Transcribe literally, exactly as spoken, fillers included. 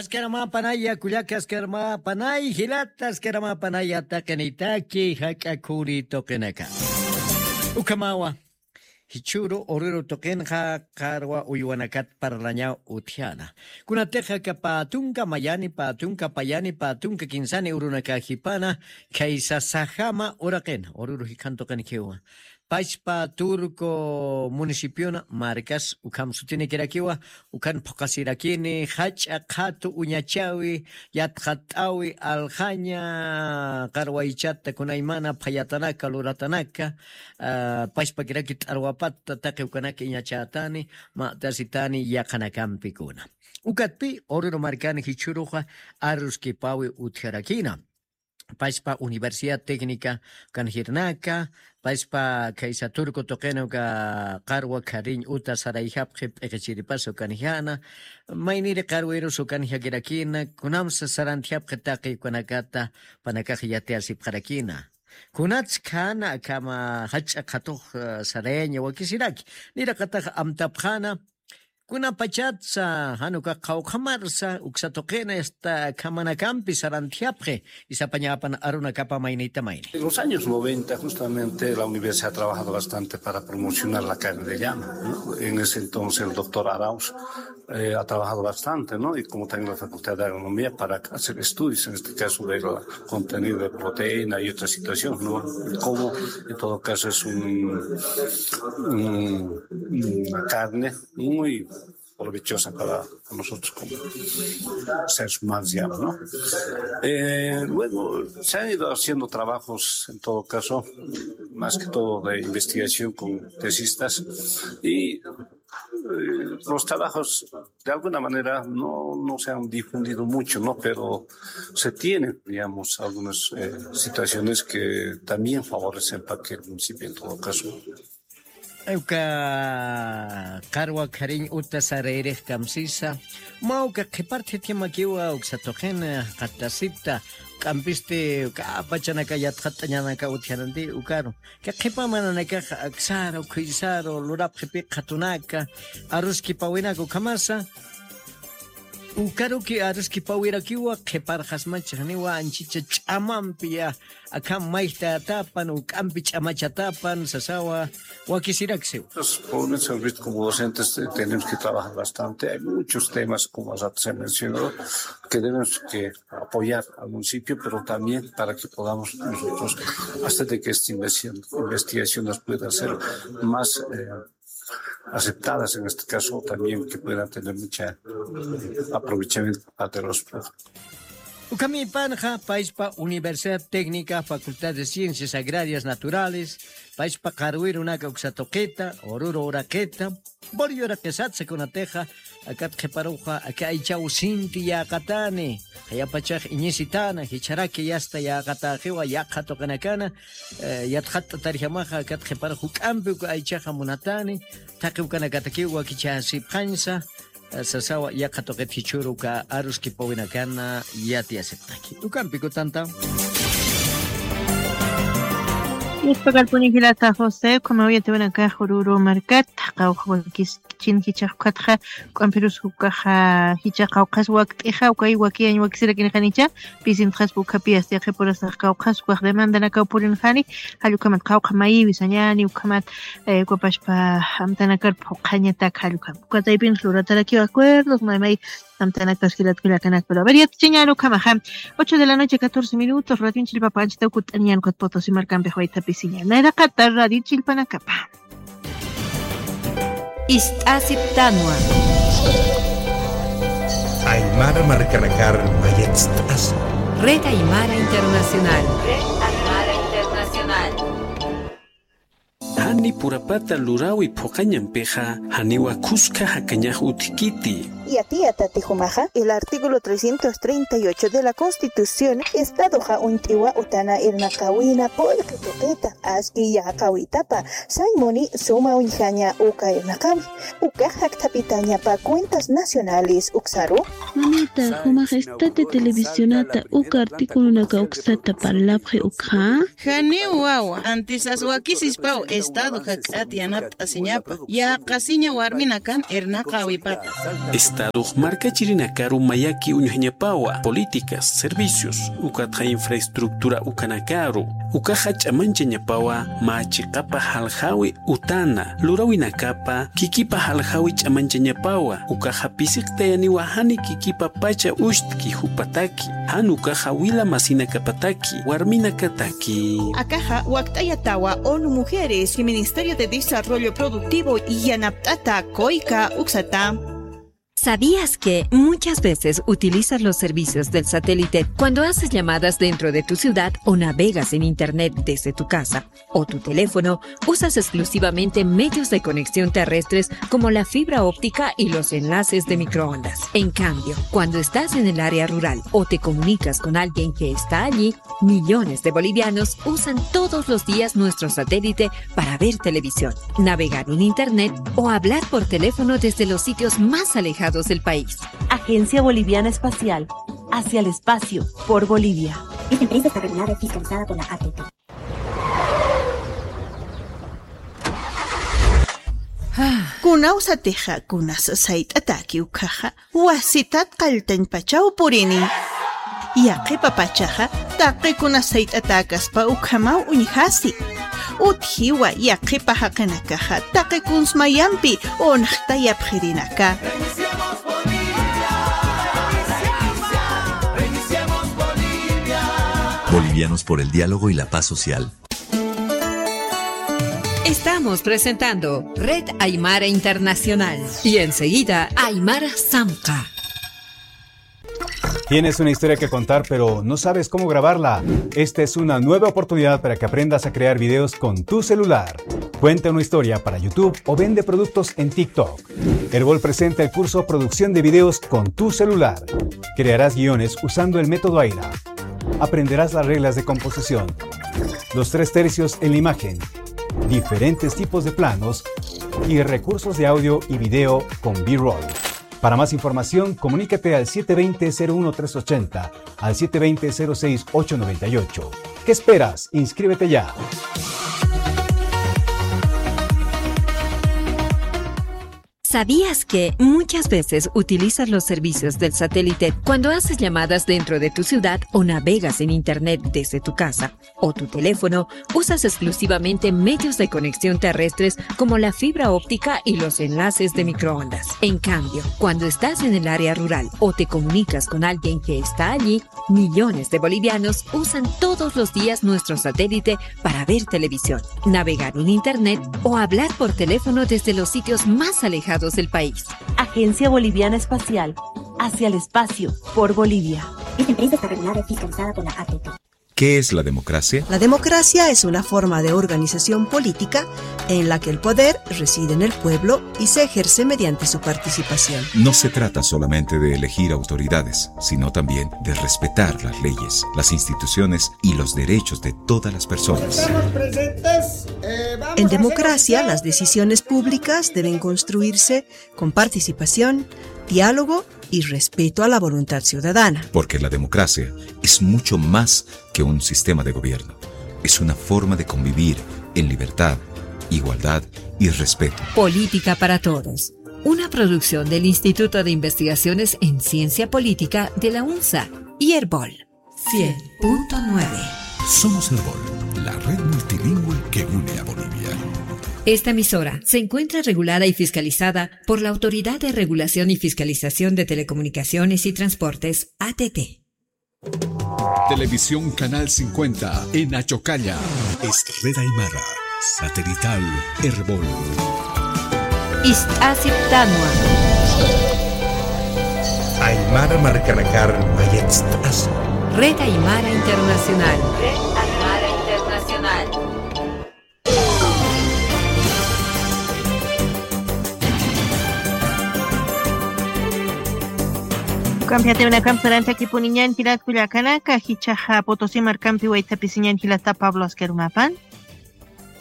Askaramäpanaya, kullaka askaramäpanay, jilata askaramäpanaya, taqinitaki jak'a khuri tuqinaka. Ukhamawa, jichhüru Oruro tuqinxa qarwa uywanakat parlañaw utjana. Kunatixa aka pä tunka mayani, pä tunka payani, pä tunka kinsani urunakaxipana, khaysa sajama uraqin, Oruro jikhan tuqinkiwa. Pachpa Turco municipiona markas ukham sutinikirakiwa, ukhan phuqasirakini, jach'a qhatu uñachawi, yatxat'awi, aljaña, qarwaychata, kunaymana phayatanaka, luratanaka, ah, pachpakiraki t'arwapatta, taqi ukanaka iñachätani, mä tasitani, yaqhanakampikuna. Ukatpi, Oruro markani jichhüruxa, aruskipawi utjarakina. Pachpa Universidad Técnica ukanjirnaka, pachpa khaysa Turco tuqina uka qarwa khariñ uta sarayjapxi p'iqichiripas ukanjana, mayniri qarwirus ukanjakirakina, kunamsa sarantjapxi taqi ukanakata, panakax yatiyasipxarakina. Kunats khana akhama jach'a qhatux, eh, sarayaña wakisiraki. Niraqatax amtapxana, kunapachatsa, jan uka qawqhamarsa, uksa tuqina, esta, akhamanakampi sarantjapxi, isapañapan arunakapa maynita mayni. En los años noventa, justamente, la universidad ha trabajado bastante para promocionar la carne de llama, ¿no? En ese entonces, el doctor Arauz, eh, ha trabajado bastante, ¿no? Y como también la Facultad de Agronomía, para hacer estudios, en este caso, del contenido de proteína y otras situaciones, ¿no? Como, en todo caso, es un, un, una carne muy provechosa para nosotros como seres humanos, digamos, ¿no? Eh, luego se han ido haciendo trabajos, en todo caso, más que todo de investigación con tesistas, y, eh, los trabajos de alguna manera no, no se han difundido mucho, ¿no? Pero se tienen, digamos, algunas, eh, situaciones que también favorecen para que el municipio, en todo caso, uka qarwa khariñ uta sarayrix kamsisa, mä uka qhipart'ithimakiwa uksa tuqina, eh, qatasipta, k'ampisti uka apachanaka yatxat'añanaka utjananti ukaru. Ka qhipa mananakax aksaru, khuysaru, lurapxipi qhatunaka, aruskipawinaka ukhamasa. Ukaruki aruskipawirakiwa qhiparxasmachixniwa anchicha ch'amampi ya, akham mayjtatapan, uk'ampi ch'amachatapan, sasawa, wakisiraksiw. Los jóvenes, han visto, como docentes, eh, tenemos que trabajar bastante. Hay muchos temas, como hace rato se mencionó, que tenemos que apoyar al municipio, pero también para que podamos nosotros hacer de que esta investigación, investigación nos pueda ser más, eh, aceptadas en este caso también, que puedan tener mucha, eh, aprovechamiento de parte de los productos. Ukhamipanxa, paispa Universidad Técnica, Facultad de Ciencias Agrarias Naturales, paispa qarwirunaka uksa tuqita, Oruro uraqita, Bolivia uraqisatsa kunatixa, akat qhiparuxa, aka aychaw sinti yäqatani, jayapachax iñisitana, jicharaki yasta yäqataxiwa, yaqha tuqinakana, eh, yatxatt'atarjamaxa, akat qhiparux juk'ampi uka aychaxa munatani, taqi ukanakatakiw wakichasipxañsa, eh, sasawa yaqha tuqit jichhüru uka aruskipawinakana yatiyasipxtaki. Ukampi kutanta. Yuspakalpuni jilata José, ukhamaw yatiyawinakax Oruro markat, qawqha wakis chin jichhax ukatxa, juk'ampirus ukaxa, jichha qawqhas wakt'ixa, ukay wakiyañ wakisirakinixanicha, pisintxaspa ukhapi yasti yaqhipurasax qawqhas ukax demandanakaw purinxani, jall ukhamat qawqha mayiwi sañani, ukhamat, eh, ukapaspa amtanakar phuqhañatak jall ukhamat. Ukataypin luratarakiw acuerdos, may may amtanakas jilat kullakanakpiro. A ver, yatichiñan ukhamaxa. Ocho de la noche, catorce minutos, Radio Chilpapa anchhitaw kutt'aniñan ukat Potosí markampix waytapisiñan. Nayraqata Radio Chilpanakapa. Ist'asiptanwa. Aymara markanakar mayatst'asa. Red Aymara Internacional. Red Aymara Internacional. Jani purapata lurawi phuqañampixa, janiwa khuska jakañax utjkiti. Yatiyatati jumaxa, el artículo trescientos treinta y ocho de la Constitución, Estadoxa uñt'iwa utana irnaqawina qullqi tuqita, aski yäqawitapa, sañ muni suma uñjaña uka irnaqawi, ukax jakthapitañapa cuentas nacionales uksaru. Mamita, jumax esta de televisionata uka articulonaka uksata parlapxi ukxa. Janiw wawa, antisas wakisispaw Estado jak'at yanapt'asiñapa, yäqasiña warminakan irnaqawipata. Estadox markachirinakaru mayaki uñjañapawa, políticas, servicios, ukatxa infraestructura ukanakaru, ukaxa ch'amanchañapawa mä chiqapa jaljawi utana lurawinakapa kikipa jaljawi ch'amanchañapawa, ukaxa pisiqtayaniwa jani kikipa pacha ushtki jupataki, jan ukaxa wila masinakapataki, warminakataki. Akaxa wakt'ayatawa ONU Mujeres y Ministerio de Desarrollo Productivo yanapt'ata koyka uksata. ¿Sabías que muchas veces utilizas los servicios del satélite cuando haces llamadas dentro de tu ciudad o navegas en Internet desde tu casa o tu teléfono? Usas exclusivamente medios de conexión terrestres como la fibra óptica y los enlaces de microondas. En cambio, cuando estás en el área rural o te comunicas con alguien que está allí, millones de bolivianos usan todos los días nuestro satélite para ver televisión, navegar en Internet o hablar por teléfono desde los sitios más alejados del país. Agencia Boliviana Espacial, hacia el espacio, por Bolivia. Esta empresa está regulada y fiscalizada por la A T T. Kuna usatixa, kunas sayt'ataki ukhaxa, wasitat qalltañpachaw purini. Yaqhipa pachaxa, taqi kunas sayt'atäkaspa ukhamaw uñjasi. Utjiwa yaqhipa jaqinakaxa, taqi kuns mayampi unxtayapxirinaka. Bolivianos por el diálogo y la paz social. Estamos presentando Red Aymara Internacional y enseguida Aymara Samka. Tienes una historia que contar, pero no sabes cómo grabarla. Esta es una nueva oportunidad para que aprendas a crear videos con tu celular. Cuenta una historia para YouTube o vende productos en TikTok. Erbol presenta el curso Producción de videos con tu celular. Crearás guiones usando el método Aira. Aprenderás las reglas de composición, los tres tercios en la imagen, diferentes tipos de planos y recursos de audio y video con B-roll. Para más información, comunícate al siete veinte cero uno tres ochenta, al siete veinte cero seis ocho noventa y ocho. ¿Qué esperas? Inscríbete ya. ¿Sabías que muchas veces utilizas los servicios del satélite cuando haces llamadas dentro de tu ciudad o navegas en Internet desde tu casa o tu teléfono? Usas exclusivamente medios de conexión terrestres como la fibra óptica y los enlaces de microondas. En cambio, cuando estás en el área rural o te comunicas con alguien que está allí, millones de bolivianos usan todos los días nuestro satélite para ver televisión, navegar en Internet o hablar por teléfono desde los sitios más alejados del país. Agencia Boliviana Espacial, hacia el espacio, por Bolivia. Esta empresa está regulada y fiscalizada por la A T T. ¿Qué es la democracia? La democracia es una forma de organización política en la que el poder reside en el pueblo y se ejerce mediante su participación. No se trata solamente de elegir autoridades, sino también de respetar las leyes, las instituciones y los derechos de todas las personas. Estamos presentes. Eh, vamos a hacer... En democracia, las decisiones públicas deben construirse con participación, diálogo y respeto a la voluntad ciudadana. Porque la democracia es mucho más que un sistema de gobierno. Es una forma de convivir en libertad, igualdad y respeto. Política para Todos, una producción del Instituto de Investigaciones en Ciencia Política de la UNSA y Erbol. Cien punto nueve. Somos Erbol, la red multilingüe que une a Bolivia. Esta emisora se encuentra regulada y fiscalizada por la Autoridad de Regulación y Fiscalización de Telecomunicaciones y Transportes, A T T. Televisión Canal cincuenta en Achocalla. Es Red Aymara, satelital Erbol. Ist'asiptanwa. Aymara markanakar mayatst'asa. Red Aymara Internacional. Red Aymara Internacional. Ukampi jatiwinakam saranchakipuniñan jilat kullakanaka, jichhaxa Potosí markampi waythapisiñan jilata Pablo Asquerumapan.